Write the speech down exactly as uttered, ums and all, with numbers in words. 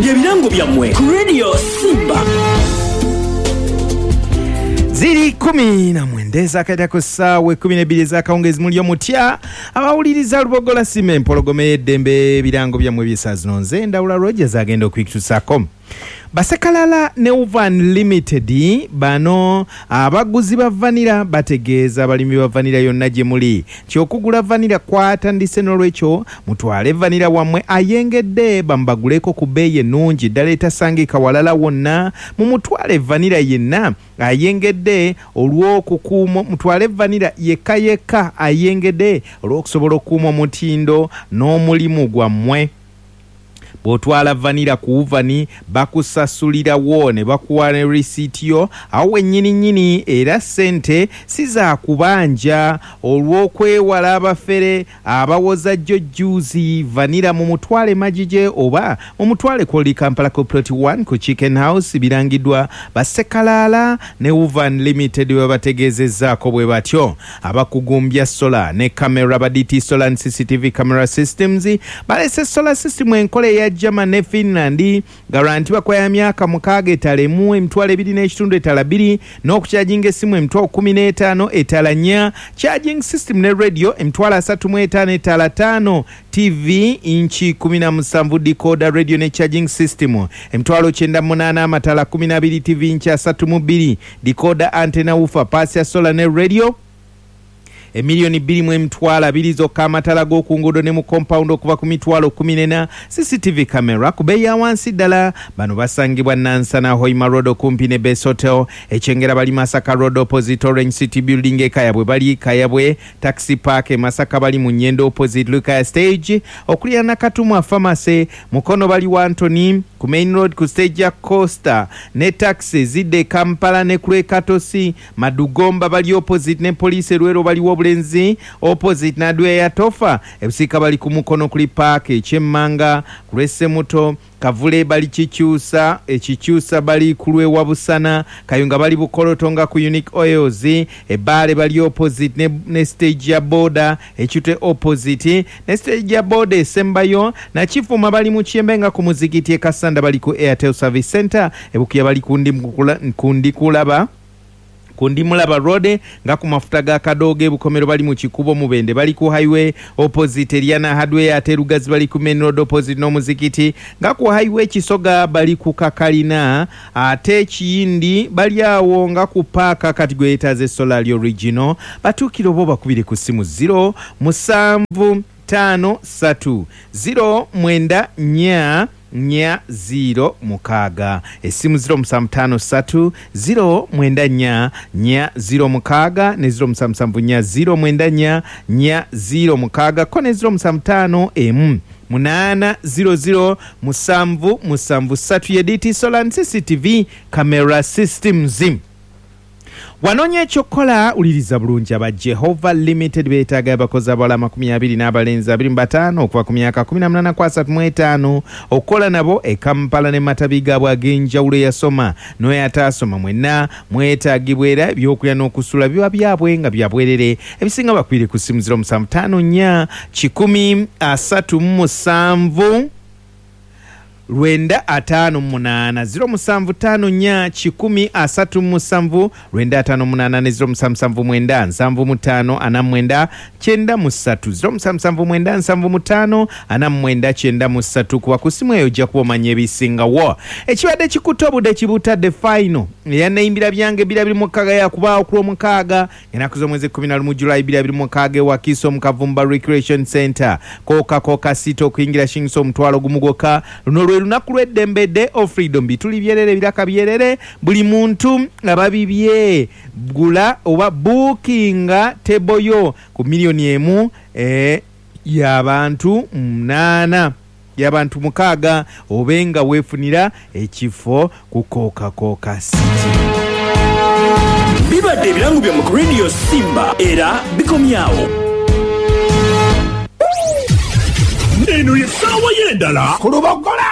Bye birango byammwe ku Radio Simba. Ziri kumi na mwenda ezakaita ku ssaawa ekkumi n'ebbiri ez'akawungeezi. Muli omutya abawuliriza Lubogola Simba empologoma ey'eddembe? Ebirango byammwe by'essaawa zino, nze Ndawula Rogers agenda okubikutuusaako. Basekalala ne Uvan Limited, bano abaguzi ba vanilla, bategeeza abalimi ba vanilla yonna gye muli nti okugula vanilla kwatandise. N'olwekyo mutwale vanilla wammwe ayengedde bamubaguleko ku bbeeyi ennungi ddala etasangika walala wonna. Mumutwale vanilla yenna ayengedde olw'okukuuma, mutwale vanilla yekka yekka ayengedde olw'okusobola okukuuma omutindo n'omulimu gwammwe. Bw'otwala vanilla ku Uvani, bakusasulirawo ne bakuwa ne risiiti yo awo wennyini nnyini, era ssente si za kubanja olw'okwewala abafere abawoza jjo jjuuzi. Vanilla mumutwale Magije oba mumutwale ku Kampala ku Plot one ku Chicken House. Birangiddwa Basekalaala ne Uvan Limited, bwe bategeezezzaako bwe batyo. Abakugumbya solar ne camera ba D T Solar and C C T V Camera Systems balese solar system enkola eya German ne Finland, guarantee bakwaya myaka mukaaga, etala emu emitwalo ebiri n'ekitundu, etala bbiri n'okukyajinga essimu emitwalo kumi n'etaano, etala nnya, charging system ne radio emitwalo asatu mu etaano, etala ttaano, T V inchi kumi na musanvu, decoder, radio ne charging system emitwalo kyenda mu munaana, amatala kumi na abiri, T V inchi asatu mu bbiri, decoder, antenna, woofer, paasi ya solar ne radio emiliyoni bbiri mu emitwalo abiri zokka, amatala g'oku nguudo ne mu compound okuva ku mitwalo kumi n'ena, C C T V camera ku bbeeyi ya wansi ddala. Bano basangibwa Nansana, Hoima Road, okumpi ne Base Hotel. Ekyengera bali Masaka Road, opposite Orange City Building. Ekayabwe bali Kayabwe Taxi Park. E Masaka bali mu Nyendo, opposite Lukaya Stage, okuliraana Katumwa Pharmacy. Mukono bali wa Antony ku main road, ku stage ya Coaster ne taxi zidde e Kampala ne ku Katosi. Madugomba bali opposite ne poliisi. Erwero baliwo Obulenzi, opposite Nadwe ya Tofa. Ebusiika bali ku Mukono kuli park ekyemmanga ku lw'Essemuto. Kavule bali Kikyusa, Ekikyusa bali ku lw'ewa Busana. Kayunga bali Bukoloto nga ku Unique Oils. Ebbaale bali opposite ne, ne stage ya boda. Ekitwe opposite ne stage ya boda esembayo. Nakifuma bali mu Kyembe nga ku muzikiti. E Kasanda bali ku Airtel Service Center. Ebukuya bali kundi, kundi kulaba kundi Mulaba Road nga ku mafuta ga Kadoogo. Ebukomero bali mu Kikubo. Mubende bali ku highway, opposite Eriana Hardware. Ate Lugazi bali ku main road, opposite n'omuzikiti nga ku highway. Kisoga bali ku Kakalina, ate Ekiyindi bali awo nga ku paaka. Kati gwe yeetaaze solar original, batuukire oba bakubire ku ssimu zero musanvu ttaano ssatu zero mwenda nnya nnya zero mukaaga. Essimu zero musanvu ttaano ssatu zero mwenda nnya nnya zero mukaaga ne zero musanvu musanvu nnya zero mwenda nnya nnya zero mukaaga ko ne zero musanvu ttaano emu munaana zero zero musanvu musanvu ssatu. Ye D T Solar and C C T V Camera Systems. Wanoonya ekyokukola, wuliriza bulungi. Aba Jehova Limited beetaaga abakozi abawala amakumi abiri n'abalenzi abiri mu bataano okuva ku myaka kumi na munaana ku asatu mu etaano okukola nabo e Kampala ne matabi gaabwe ag'enjawulo. Yasoma n'oyo ataasoma, mwenna mwetaagibwa, era ebyokulya n'okusula biba byabwe nga bya bwerere. Ebisinga bakwire ku ssimu zero musanvu ttaano nnya kikumi asatu mu musanvu lwenda ataano munaana, zero musanvu ttaano nnya kikumi asatu mu musanvu lwenda ataano munaana ne zero musanvu musanvu mwenda nsanvu mu ttaano ana mu mwenda kyenda mu ssatu, zero musanvu musanvu mwenda nsanvu mu ttaano ana mu mwenda kyenda mu ssatu. Kuba ku ssimu eyo ojja kuba omanya ebisingawo. Ekibadde kikutte obudde kibutadde. Final eyanneyimbira byange bbiri abiri mu mukaaga yakubaawo ku Lwomukaaga, ennaku z'omwezi kkumi na lumu Julayi bbiri abiri mu mukaaga e Wakiso mu Kavumba Recreation Center. Kooka kooka sita, okuyingira shingisa omutwalo gumu gwokka. Luno lwe lunaku lw'eddembe, Day of Freedom. Bituli byerere, biraka byerere, buli muntu ababibye. Gula oba buukinga table yo ku miliyoni emu eh, y'abantu munaana, y'abantu mukaaga, obe nga weefunira ekifo ku Kooka Kooka City. Bibadde ebirango byammwe ku Radio Simba, era bikomyawo. Eno ye ssaawa y'endala ku Lubogola.